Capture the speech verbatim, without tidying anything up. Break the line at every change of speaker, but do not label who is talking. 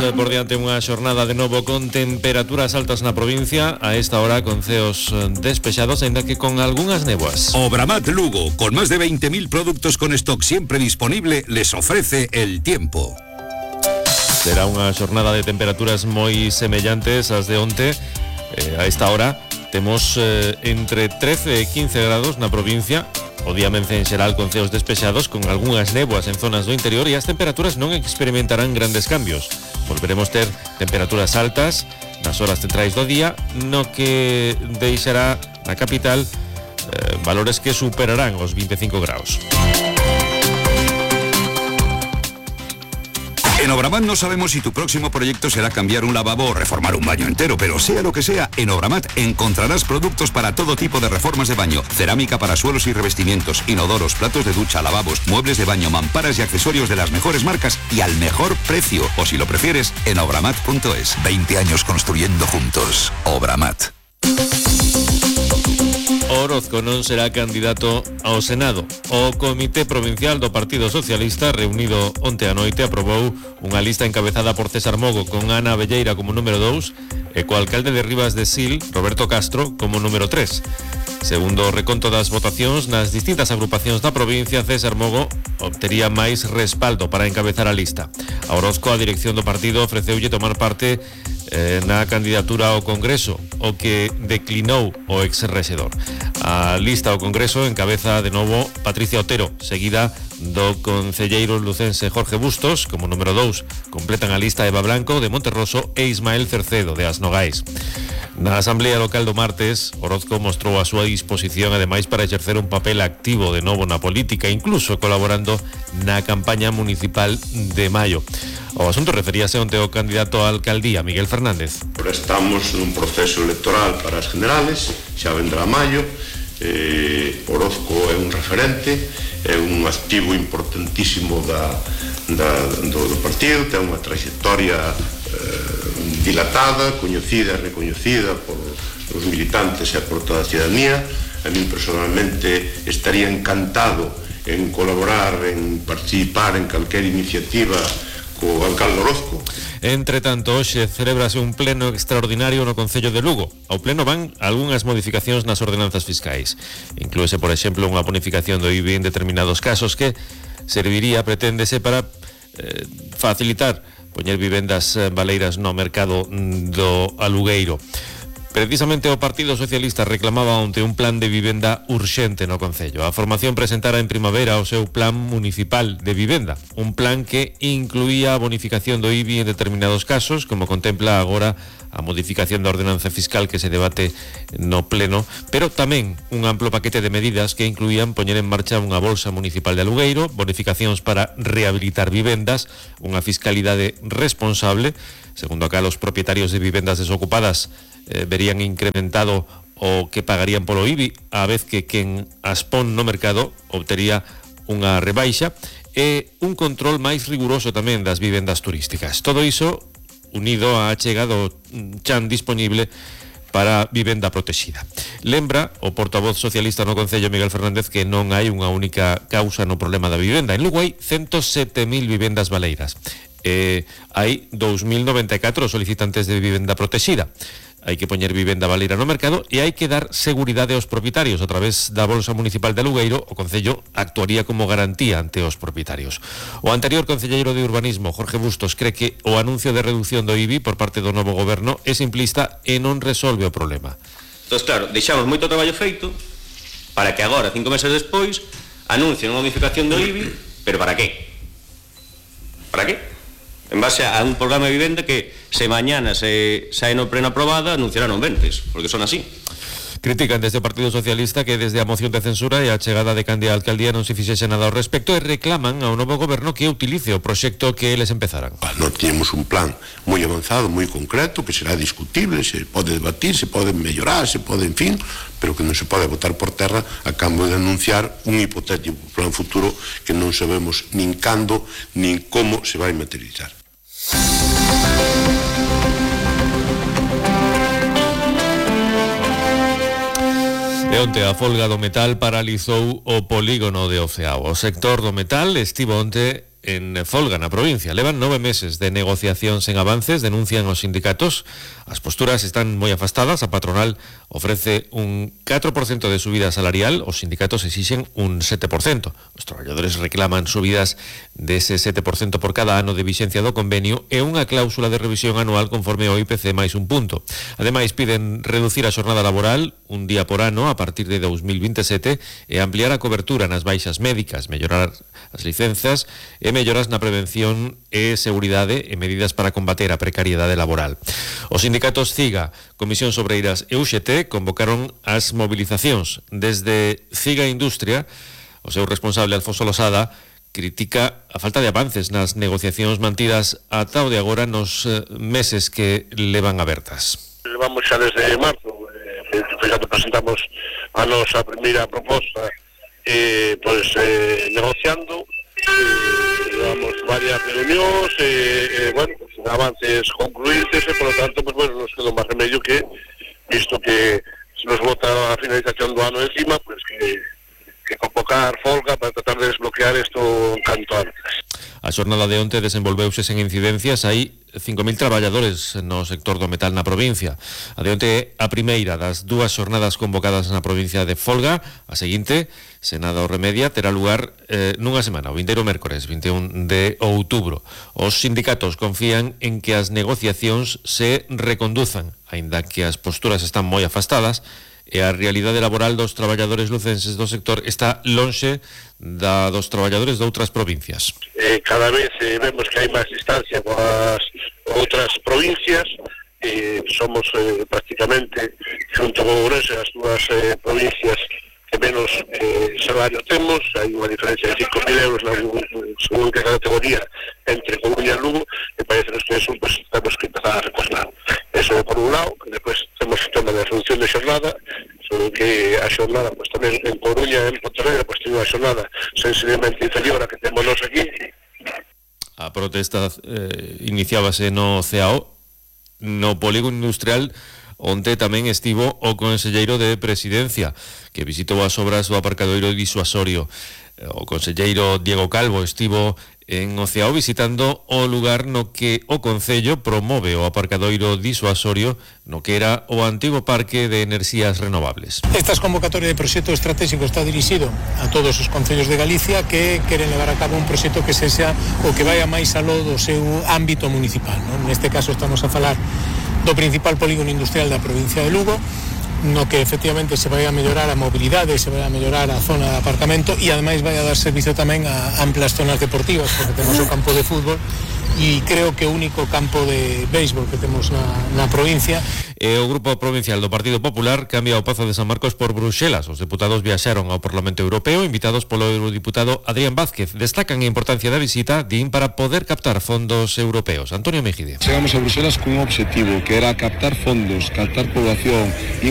eh, por diante unha xornada de novo con temperaturas altas na provincia, a esta hora con ceos eh, despexados, ainda que con algunhas néboas.
Obramat Lugo, con más de veinte mil productos con stock siempre disponible, les ofrece el tiempo.
Será unha xornada de temperaturas moi semellantes ás de onte. Eh, a esta hora temos eh, entre trece e quince grados na provincia. O día mence en xeral con ceos despexados, con algunhas néboas en zonas do interior, e as temperaturas non experimentarán grandes cambios. Volveremos ter temperaturas altas nas horas centrais do día, no que deixará na capital eh, valores que superarán os veinticinco graus.
En Obramat no sabemos si tu próximo proyecto será cambiar un lavabo o reformar un baño entero, pero sea lo que sea, en Obramat encontrarás productos para todo tipo de reformas de baño, cerámica para suelos y revestimientos, inodoros, platos de ducha, lavabos, muebles de baño, mamparas y accesorios de las mejores marcas y al mejor precio. O si lo prefieres, en obramat punto es. veinte años construyendo juntos. Obramat.
Orozco non será candidato ao Senado. O Comité Provincial do Partido Socialista, reunido onte a noite, aprobou unha lista encabezada por César Mogo con Ana Abelleira como número dous e co alcalde de Rivas de Sil, Roberto Castro, como número tres. Segundo o reconto das votacións nas distintas agrupacións da provincia, César Mogo obtería máis respaldo para encabezar a lista. A Orozco, a dirección do partido, ofreceulle tomar parte eh, na candidatura ao Congreso, o que declinou o ex-rexedor. A lista ao Congreso encabeza de novo Patricia Otero, seguida do concelleiro lucense Jorge Bustos. Como número dous completan a lista Eva Blanco de Monterroso e Ismael Cercedo de As Nogais. Na Asamblea Local do martes, Orozco mostrou a súa disposición ademais para exercer un papel activo de novo na política, incluso colaborando na campaña municipal de maio. O asunto referíase onte ao candidato á alcaldía, Miguel Fernández.
Estamos nun proceso electoral para as generales, xa vendrá maio. eh, Orozco é un referente, é un activo importantísimo da, da, do, do partido, ten unha trayectoria eh, dilatada, coñecida e recoñecida por os militantes e por toda a ciudadanía. A mí personalmente estaría encantado en colaborar, en participar en calquera iniciativa co alcalde Orozco.
Entre tanto, hoxe celebrase un pleno extraordinario no Concello de Lugo. Ao pleno van algunhas modificacións nas ordenanzas fiscais. Inclúese, por exemplo, unha bonificación do I B I en determinados casos que serviría, preténdese, para eh, facilitar poñer vivendas baleiras no mercado do alugueiro. Precisamente o Partido Socialista reclamaba onte un plan de vivenda urxente no Concello. A formación presentara en primavera o seu plan municipal de vivenda, un plan que incluía a bonificación do I B I en determinados casos, como contempla agora a modificación da ordenanza fiscal que se debate no pleno, pero tamén un amplo paquete de medidas que incluían poñer en marcha unha bolsa municipal de alugueiro, bonificacións para rehabilitar vivendas, unha fiscalidade responsable, segundo a cal os propietarios de vivendas desocupadas eh, verían incrementado o que pagarían polo I B I, a vez que quen as pon no mercado obtería unha rebaixa, e un control máis riguroso tamén das vivendas turísticas. Todo iso unido á achega do chan disponible para vivenda protexida. Lembra o portavoz socialista no Concello, Miguel Fernández, que non hai unha única causa no problema da vivenda. En Lugo hai ciento sete mil vivendas baleiras. Eh, hai dous mil noventa e catro solicitantes de vivenda protexida. Hai que poñer vivenda baleira no mercado e hai que dar seguridade aos propietarios. A través da Bolsa Municipal de Alugueiro, o Concello actuaría como garantía ante os propietarios. O anterior concelleiro de Urbanismo, Jorge Bustos, cree que o anuncio de reducción do I B I por parte do novo goberno é simplista e non resolve o problema.
Entón, claro, deixamos moito traballo feito para que agora, cinco meses despois, anuncien unha modificación do I B I, pero para qué? Para qué? En base a un programa de vivenda que se mañana se sae no pleno aprobada anunciarán non ventes, porque son así.
Critican desde o Partido Socialista que desde a moción de censura e a chegada de Candia á alcaldía non se fixese nada ao respecto e reclaman ao novo goberno que utilice o proxecto que eles empezaran.
Non temos un plan moi avanzado, moi concreto, que será discutible, se pode debatir, se pode mellorar, se pode, en fin, pero que non se pode botar por terra a cambio de anunciar un hipotético plan futuro que non sabemos nin cando nin como se vai materializar.
E onte a folga do metal paralizou o polígono de Oceao. O sector do metal estivo onte en folga na provincia. Levan nove meses de negociación sen avances, denuncian os sindicatos. As posturas están moi afastadas, a patronal ofrece un catro por cento de subida salarial, os sindicatos exixen un sete por cento. Os traballadores reclaman subidas dese sete por cento por cada ano de vixencia do convenio e unha cláusula de revisión anual conforme ao I P C máis un punto. Ademais, piden reducir a xornada laboral un día por ano a partir de dos mil veintisiete e ampliar a cobertura nas baixas médicas, mellorar as licenzas e melloras na prevención e seguridade e medidas para combater a precariedade laboral. Os sindicatos CIGA, Comisión Sobreiras e U X T convocaron as movilizacións. Desde CIGA Industria, o seu responsable Alfonso Losada critica a falta de avances nas negociacións mantidas ata o de agora nos meses que levan abertas.
Levamos xa desde marzo, eh, já presentamos a nosa primeira proposta eh, pues, eh, negociando, eh, levamos varias reunións, eh, eh, bueno, pues, avances concluídos e, por lo tanto, pues, bueno, nos quedou máis remedio que, visto que se nos vota a finalización do ano encima, pues que que convocar folga para tratar de desbloquear isto canto antes.
A xornada de onte desenvolveuse sen incidencias. Hai cinco mil traballadores no sector do metal na provincia. A de onte é a primeira das dúas xornadas convocadas na provincia de folga. A seguinte, se nada o remedia, terá lugar eh, nunha semana, o vindeiro mércores, vinte e un de outubro. Os sindicatos confían en que as negociacións se reconduzan, aínda que as posturas están moi afastadas, e a realidade laboral dos traballadores lucenses do sector está lonxe da dos traballadores de outras provincias.
Eh, cada vez eh, vemos que hai máis distancia coas outras provincias, eh, somos eh, prácticamente, junto con Ourense, as dúas eh, provincias que menos eh, salario temos. Hai unha diferencia de cinco mil euros na según que categoría entre Coruña e Lugo, e parece que eso pues, temos que empezar a recortar. Eso por un lado, que despois temos o tema de reducción de xornada, sobre que a xornada pues, tamén en Coruña e en Pontevedra pues, tiene unha xornada sensiblemente inferior a que temos nos aquí.
A protesta eh, iniciábase no C A O, no polígono industrial, onte tamén estivo o conselleiro de Presidencia, que visitou as obras do aparcadoiro disuasorio. O conselleiro Diego Calvo estivo en o C A O visitando o lugar no que o Concello promove o aparcadoiro disuasorio no que era o antigo Parque de Enerxías Renovables.
Estas convocatorias de proxecto estratégico está dirixido a todos os concellos de Galicia que queren levar a cabo un proxecto que sexa o que vaya máis aló do seu ámbito municipal, non? Neste caso estamos a falar do principal polígono industrial da provincia de Lugo, no que efectivamente se vai a mellorar a mobilidade, se vai a mellorar a zona de aparcamento e ademais vai a dar servicio tamén a amplas zonas deportivas, porque temos o campo de fútbol e creo que o único campo de béisbol que temos na, na provincia.
E o Grupo Provincial do Partido Popular cambia o Pazo de San Marcos por Bruxelas. Os deputados viaxaron ao Parlamento Europeo invitados polo eurodiputado Adrián Vázquez. Destacan a importancia da visita, din, para poder captar fondos europeos. Antonio Mejide.
Chegamos a Bruxelas cun objetivo que era captar fondos, captar población